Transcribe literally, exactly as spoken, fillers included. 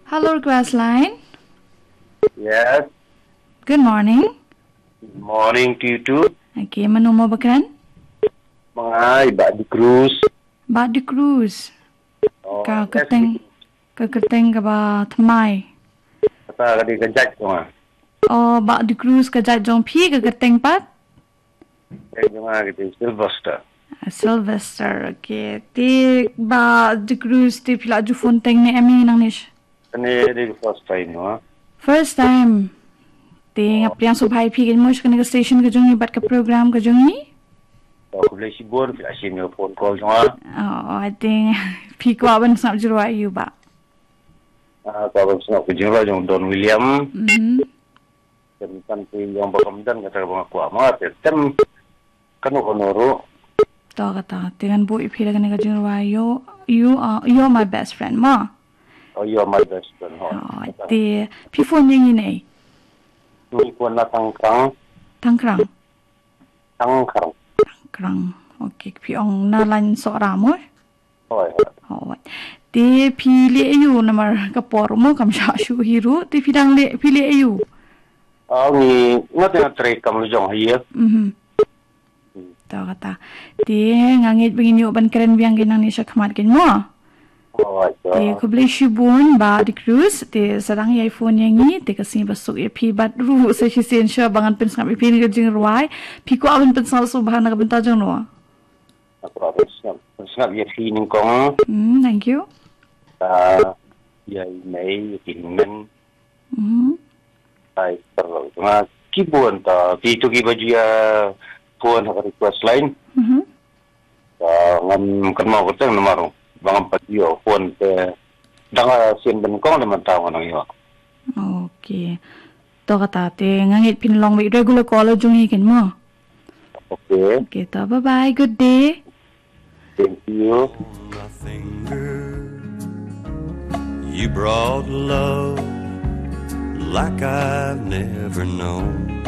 Hello, Request Line. Yes. Good morning. Good morning to you too. Okay, mano mo bakran? Mangai ba di Cruz. Ba di Cruz. Oh, Ka yes, kerteng, ka kerteng ka ba tmai. Kata ka di ka judge tu ah. Oh, ba di Cruz ka judge jong phi, ka kerteng pat? Judge jong nga ka di Sylvester. Ah, Sylvester, okay. Te ba di Cruz te phi la ju phone teng ne em i nang nish? Kane di first time no. First time. Te nga pdiang sngewbha ïa phi kane mo sha kane ka station ka jong i bad ka program ka jong i. To khublei shibun phi la shim ïa phone call jong nga. Oh, I think phi kwah ban sngap jingrwai ïa u ba. Ah, kwah ban sngap ka jingrwai jong Don William. Mhm. Kan kan phi jong ba kam don kata ba nga kwah ma te tem kano kano ruh. To kata, te ngan buh ïa phi la kane ka jingrwai, you, you are, you're my best friend mo. Oh, you're my best friend. Oh. Oh, te phi phone ïa ngi ne? Ni ko na tang krang. Tang krang. Tang krang. Krang. Okay, phi ong na line Sohra mo. Hoi. Oh, te phi leh aïu namar ka por mo kam shah shuh hi ruh, te phi dang leh, phi leh aïu? Oh, ngi ngat nga trei kam lajong hi. Mhm. To kata. Te nga ngeit ba ngin ïoh ban kren biang kane nangne shakhmat kane mo. Hoi. Te khublei shibun ba di Cruz, te sa dang ïai phone ïa ngi, te ka sngi ba suk ïa phi bad ruh sa shisien shuwa ba ngan pynsngap ïa phi kane ka jingrwai. Phi kwah ban pynsngap sngewbha na ka bynta jong no? Aku akan sngap sngap ïa phi nyngkong. Hmm, thank you. Ah, ïa i mei ïa ki men. Mhm. Ai perlu nga kibun ta ki tu ki baju ïa phone ha ka Request Line. Mhm. Ta ngam kan mau kata namar ba ngam pat ïoh phone te dang sien ben kong da man tau nang ïoh. Okay. To kata te nga ngeit phin long wei regular caller jong i kane mo. Okay. Okay, to bye bye, good day. Thank you. My finger, you brought love like I've never known.